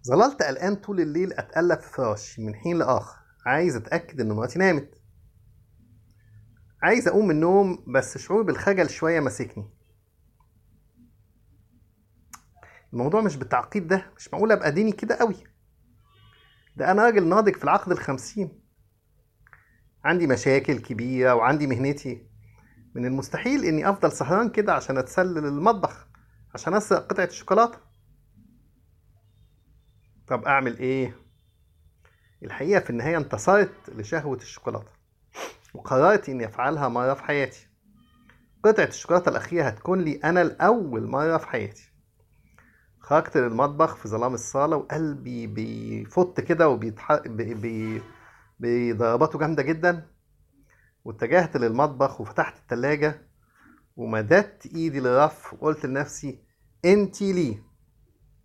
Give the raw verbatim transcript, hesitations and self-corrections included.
ظللت قلقان طول الليل أتقلب في فراشي من حين لآخر، عايز أتأكد إن مراتي نامت. عايز أقوم من النوم بس شعور بالخجل شوية ماسكني. الموضوع مش بالتعقيد ده، مش معقول أبقى ديني كده قوي. ده أنا راجل ناضج في العقد الخمسين، عندي مشاكل كبيرة وعندي مهنتي. من المستحيل إني أفضل سهران كده عشان أتسلل المطبخ، عشان أسرق قطعة الشوكولاتة. طب أعمل إيه؟ الحقيقة في النهاية انتصرت لشهوة الشوكولاتة، وقررت إني أفعلها مرة في حياتي. قطعة الشوكولاتة الأخيرة هتكون لي أنا لأول مرة في حياتي. خرجت للمطبخ في ظلام الصالة وقلبي بيفط كده وبيضرباته بي... بي... بضرباته جامدة جدا. واتجهت للمطبخ وفتحت التلاجة ومددت ايدي للرف وقلت لنفسي: انتي ليه؟